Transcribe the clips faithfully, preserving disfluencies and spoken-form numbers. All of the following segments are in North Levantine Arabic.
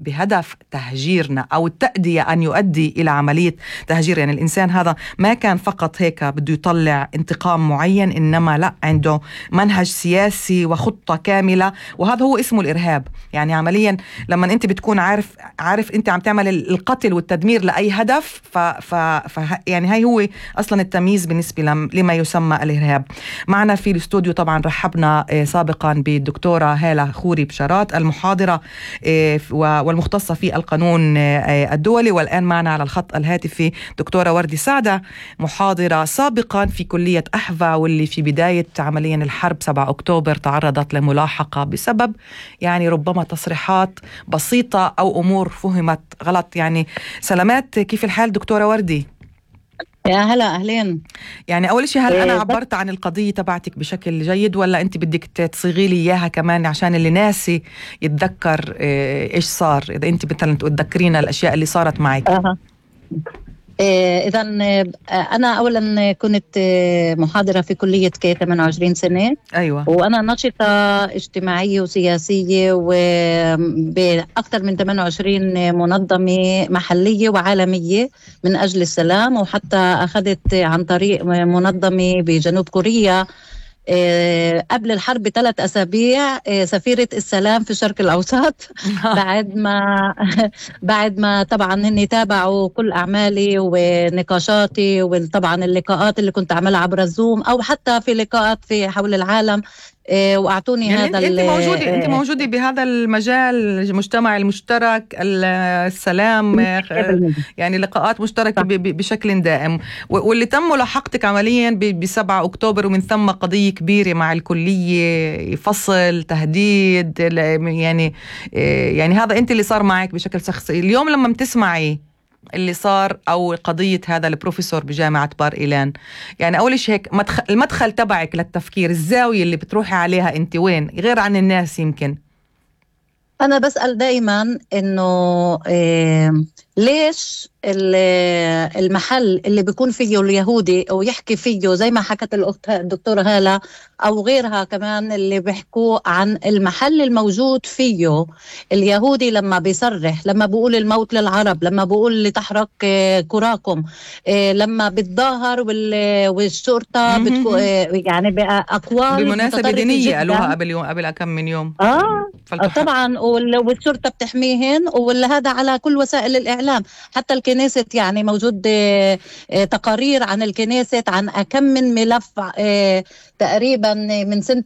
بهدف تهجيرنا أو التأدية أن يؤدي إلى عملية تهجير. يعني الإنسان هذا ما كان فقط هيك بده يطلع انتقام معين، إنما لا، عنده منهج سياسي وخطة كاملة، وهذا هو اسمه الإرهاب. يعني عمليا لما أنت بتكون عارف عارف أنت عم تعمل القتل والتدمير لأي هدف، ف, ف, ف يعني هاي هو أصلا التمييز بالنسبة لما يسمى الإرهاب. معنا في الاستوديو طبعا رحبنا سابقا بالدكتورة هالة خوري بشارات، المحاضرة والمختصة في القانون الدولي، والآن معنا على الخط الهاتفي دكتورة وردي سعدة، محاضرة سابقا في كلية أحفا، واللي في بداية عمليا الحرب سبعة أكتوبر تعرضت لملاحقة بسبب يعني ربما تصريحات بسيطة أو أمور فهمت غلط. يعني سلامات، كيف الحال دكتورة وردي؟ يا هلا، أهلين. يعني أول شيء، هل أنا عبرت عن القضية تبعتك بشكل جيد، ولا أنت بدك تصيغي لي إياها كمان عشان اللي ناسي يتذكر إيش صار؟ إذا أنت مثلا تذكرينا الأشياء اللي صارت معك. أه. إذا أنا أولا كنت محاضرة في كلية كي ثمانية وعشرين سنة. أيوة. وأنا ناشطة اجتماعية وسياسية وبأكثر من ثمانية وعشرين منظمة محلية وعالمية من أجل السلام، وحتى أخذت عن طريق منظمة بجنوب كوريا قبل الحرب بثلاث أسابيع سفيرة السلام في الشرق الأوسط. بعد ما بعد ما طبعا هن تابعوا كل أعمالي ونقاشاتي، وطبعا اللقاءات اللي كنت أعملها عبر الزوم أو حتى في لقاءات في حول العالم، واعطوني يعني هذا. انت موجوده انت موجوده بهذا المجال، المجتمع المشترك، السلام، يعني لقاءات مشتركه بشكل دائم، واللي تم ملاحقتك عمليا بسبعة أكتوبر، ومن ثم قضيه كبيره مع الكليه، فصل، تهديد، يعني يعني هذا انت اللي صار معك بشكل شخصي. اليوم لما بتسمعي اللي صار أو قضية هذا البروفيسور بجامعة بار إيلان، يعني أول شيء هيك مدخل المدخل تبعك للتفكير، الزاوية اللي بتروحي عليها أنت وين غير عن الناس؟ يمكن أنا بسأل دايما إنه إيه ليش المحل اللي بيكون فيه اليهودي أو يحكي فيه زي ما حكت الأخت الدكتورة هالة أو غيرها كمان اللي بيحكوا عن المحل الموجود فيه اليهودي، لما بيصرح، لما بيقول الموت للعرب، لما بيقول لتحرق كراكم، لما بتظاهر والشرطة بتكو يعني بأقوال بمناسبة دينية قالوها قبل يوم قبل كم من يوم. آه طبعا، والشرطة بتحميهن، وهذا على كل وسائل الإعلام. حتى الكنيسة يعني موجود تقارير عن الكنيسة عن كم من ملف تقريبا من سنة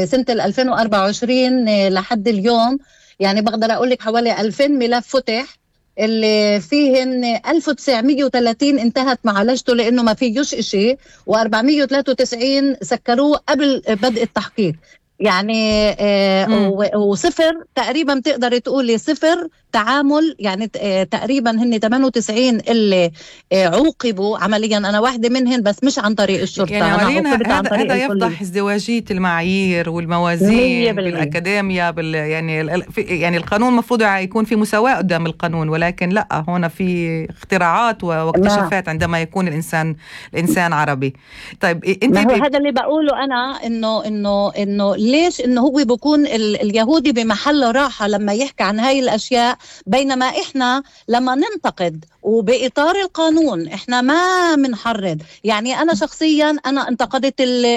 سنة ألفين وأربعة وعشرين لحد اليوم. يعني بقدر أقول لك حوالي ألفين ملف فتح، اللي فيهن ألف وتسعمية وثلاثين انتهت معالجته لأنه ما فيهوش إشي، وأربعمية وثلاثة وتسعين سكروه قبل بدء التحقيق. يعني آه وصفر تقريبا، بتقدر تقولي صفر تعامل. يعني آه تقريبا هن ثمانية وتسعين اللي آه عوقبوا عمليا، انا واحدة منهن بس مش عن طريق الشرطة. يعني عمليا هذا هذا يفضح ازدواجية المعايير والموازين بالأكاديمية بال يعني يعني القانون المفروض يكون في مساواة قدام القانون، ولكن لا، هنا في اختراعات واكتشافات عندما يكون الإنسان الإنسان عربي. طيب انت ما هو هذا اللي بقوله أنا، إنه إنه إنه ليش إنه هو بيكون اليهودي بمحل راحة لما يحكي عن هاي الأشياء، بينما إحنا لما ننتقد وبإطار القانون إحنا ما منحرض. يعني أنا شخصيا أنا انتقدت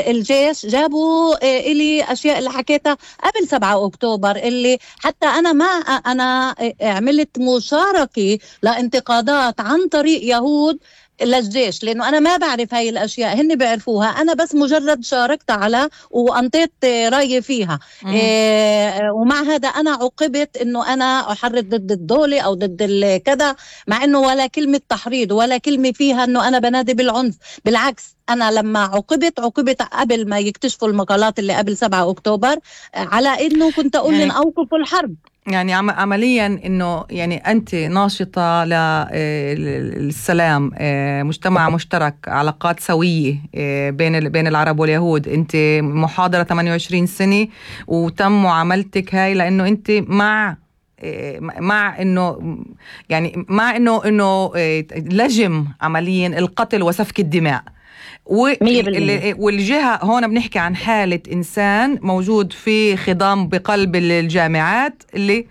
الجيش، جابوا إلي أشياء اللي حكيتها قبل سبعة أكتوبر، اللي حتى أنا ما أنا عملت مشاركة لانتقادات عن طريق يهود للجيش، لأنه أنا ما بعرف هاي الأشياء، هن بيعرفوها، أنا بس مجرد شاركت على وأنطيت رأيي فيها. إيه ومع هذا أنا عوقبت إنه أنا أحرض ضد الدولة أو ضد كذا، مع إنه ولا كلمة تحريض ولا كلمة فيها إنه أنا بنادي بالعنف. بالعكس، أنا لما عوقبت عوقبت قبل ما يكتشفوا المقالات اللي قبل سبعة أكتوبر على إنه كنت أقول يعني أوقفوا الحرب. يعني عمليا انه يعني انت ناشطه للسلام، مجتمع مشترك، علاقات سويه بين بين العرب واليهود. انت محاضره ثمانية وعشرين سنه وتم معاملتك هاي لانه انت مع مع انه يعني مع انه انه لجم عمليا القتل وسفك الدماء. والجهة هون بنحكي عن حالة إنسان موجود في خضام بقلب الجامعات اللي